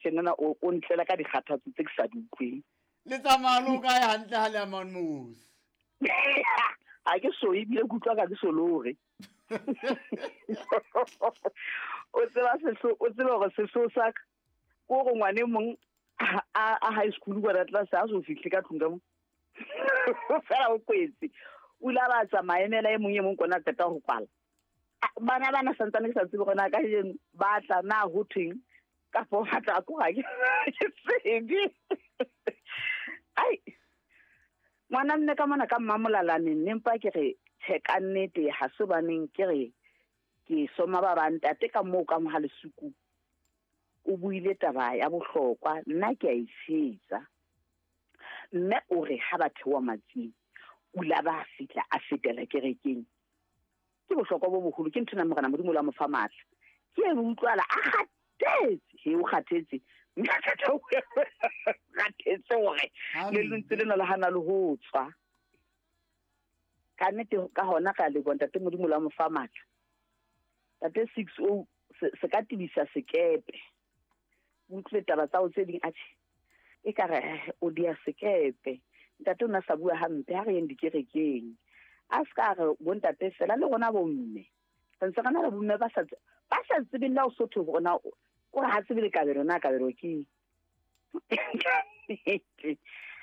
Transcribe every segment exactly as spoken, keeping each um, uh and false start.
tjenana o o ntlela ka dikgathatso tse ke sa di utlweng. Le tsamaya le o kae hantle ha le ya mane Mogosi? Ha ke so ebile ke utlwa ka ke so lore. O tseba sehlo, o tseba hore sehlo sa ka ko gore ngwane e mong a a high school kwa tlase a so fihle ka tlung ka mo. Fela o kwetse. O ile a ba tsamaya emela e mong e mong kona qeta ho kwala. Bana bana santsane ke sa tsebe hore na kajeno ba tla na ho thweng kapo ba tla ko ha ke tsebe. Ai, ngwana mme ka mona ka mmamolalane ne mpa ke re tjhe ka nnete ha se baneng ke re ke soma ba bang ntate ka moo ka moha lesuku o buile taba ya bohlokwa nna ke a e tshehetsa. Mme o re ha ba theoha matsing o la ba fihla a fetela kerekeng. Ke bohlokwa bo boholo ke nthwena Morena Modimo la mo fa matla. Ke e utlwala a kgathetse, he o kgathetse. Kgathetse hore le lentswe lena le hana le ho tswa. Ka nnete ka hona ka leboha ntate Modimo la mo fa matla. Ntate six oh se ka tibisa sekepe. Utlwe taba tsa o tse ding atjhe. E ka re o dia sekepe. Ntate o na sa bua hampe ha re yeng dikerekeng. A ska re bontate fela le rona bomme. Re ntse re na le bomme ba sa ba sa tsebeng la o sotho rona o re ha tsebe le kabelo na kabelo ke.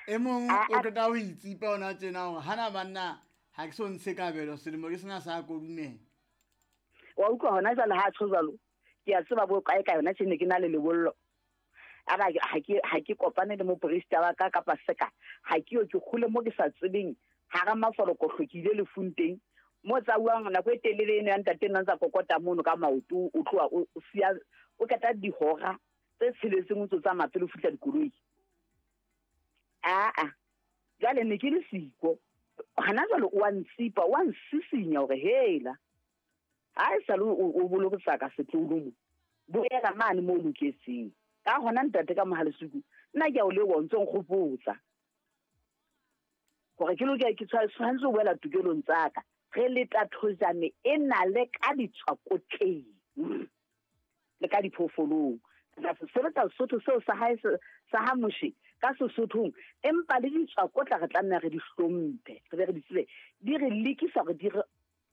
E mong o qeta ho itsipa ona tjena hore hana banna ha ke so ntshe kabelo selemo ke sena sa kodumela. Wa utlwa hona jwale ha tjho jwalo. Ke a tseba bo kae ka yona tjene ke na le lebollo. Aba ha ke ha ke kopane le moporista wa ka kapa seka ha ke yo ke kgole mo ke sa tsebeng ha ra mafoloko hlokile lefung teng mo tsauwang nako e telele eno ya ntate nna ntsa kokota mono ka maoto o tloha o siya o keta dihora tse tsheletseng o ntso tsamaya pele o fihla dikoloi. A a jwale ne ke le siko hana jwale o a ntsipa o a nsisinya hore hela ha e sale o bolokisa ka setloholo mo boela mane mo loketseng. Ka hona ntate ka mohalesuku nna ke a o leboha o ntso nkgopotsa hore ke lokela ke tshwanetse ho boela tokelong tsa ka. Re le tathojane e na le ka ditswakotleng le ka diphoofolong. Re sebetsa Sesotho seo sa hae sa ha Moshe ka Sesothong, empa le ditswakotla re tlameha re di hlomphe, re be re di tsebe di re lekisa hore di re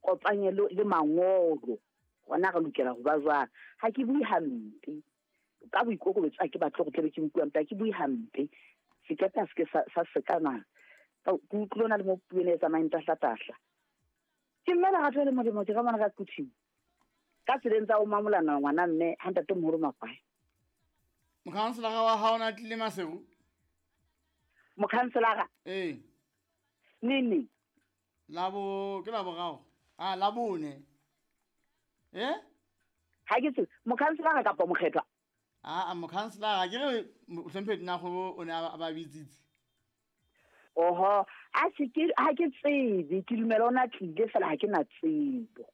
kopanye le mangolo hona re lokela ho ba jwang. Ha ke bue hampe ka boikokobetso, ha ke batle ho tlebe ke bua hampe, ha ke bue hampe. Sekepe ha se ke sa sekana ke utlwile ona le mo puo ena e tsamayang tahlatahla. Ke mme lerato le molemo ke ka mona ka Quthing. Ka tseleng tsa ho mamolana ngwana mme ha ntate moholo Makwae. Mokhanselara wa hao na tlile Maseru? Mokhanselara? Ee. Neng neng? Labo ke laboraro. Ah, labone. Eh? Ha ke tsebe mokhanselara kapa mokgethwa? Ah, mokhanselara ke re Hlomphehi Nna o ne a ba bitsitse. Oho, a se ke ha ke tsebe, ke dumela ona tlile fela ha ke na tsebo.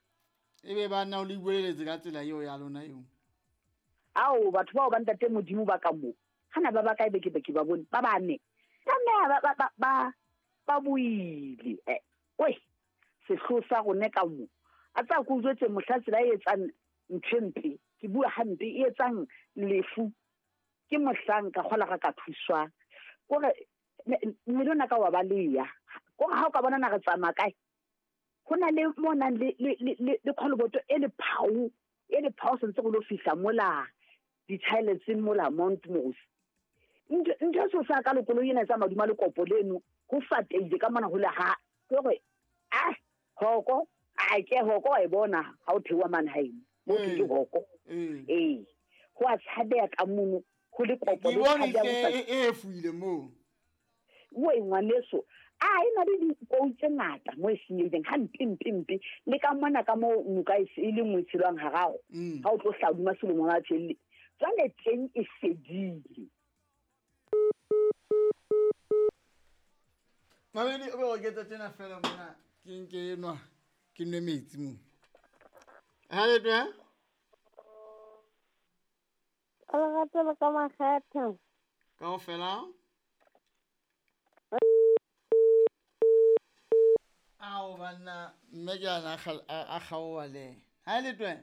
Ebe ba nna o le bueletse ka tsela eo ya lona eo. Ao batho bao ba ntate Modimo ba ka mo. Hana ba ba kae be ke be ke ba bone ba bane. Tlameha ba ba ba ba buile. Eh, oi, sehlo sa rone ka mo. A tsa go jwetse mohla tsela e etsang ntho mpe, ke bua hampe e etsang lefu. Ke mohlang ka kgola ga ka thuswa. Kore mmele ona ka wa baleya. Kore ha o ka bona na re tsamaya kae? Ho na le mo nang le le le le kgoloboto e le phao, e le phao sentse go lo fihla mola di-toiletseng mola Mount Mosi. Ntho ntho so sa ka lekoloi ena tsa maduma le kopo leno ho fateile ka mona ho le ha ke hore ah hoko a ke hoko wa e bona ha o theoha mane haeno mo ke hoko ee ho a tshabeya ka mono ho le kopo le tshabeya e e fuile moo o e ngwaneso a e na le dikou tse ngata mo e senyehileng hampe mpe mpe le ka mona ka mo noka e le nngwe tshelwang hararo ha o tlo hlaoduma selemo wa tshelle jwale teng e fedile. Mabedi o be o ketsa tjena fela mona ke nke enwa ke nwe metsi mo. Ha le twe? Lerato le ka makgethe. Kaofela? Ao banna mme ke ana a kgaoha le. Ha le twe?